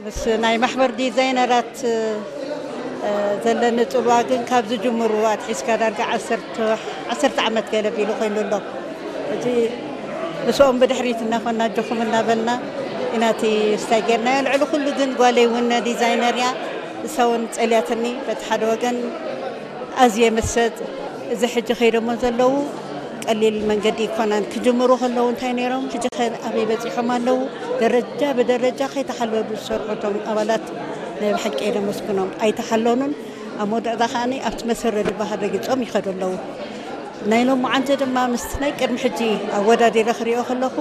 ምስ ናይ ማሕበር ዲዛይነራት ዘለኒ ፅልዋ ግን ካብ ዝጅምሩ ኣትሒዝካ ዳርጋ ዓሰርተ ዓመት ገለ ቢሉ ኮይኑ ኣሎ። እዚ ምስኦም ብድሕሪት እናኾና ኣጆኹም እናበልና ኢና እቲ ስታይ ጌርናዮ። ልዕሊ ኩሉ ግን ጓለይ እውን ዲዛይነር እያ፣ እሳ እውን ፀልያትኒ። በቲ ሓደ ወገን ኣዝየ መሰጥ። እዚ ሕጂ ከይዶሞ ዘለዉ ቀሊል መንገዲ ይኮናን። ክጅምሩ ከለዉ እንታይ ነይሮም፣ ሕጂ ከ ኣበይ በፂሖም ኣለዉ? ደረጃ ብደረጃ ከይተሓለሉ ዝሰርሑ እቶም ኣባላት ናይ ብሓቂ የመስግኖም። ኣይተሓለኑን። ኣብ መወዳእታ ከዓኒ ኣብቲ መሰረት ዝበሃል ረጊፆም ይኸዱ ኣለዉ። ናይ ሎማዓንቲ ድማ ምስ ናይ ቅድሚ ሕጂ ኣወዳዲረ ክሪኦ ከለኹ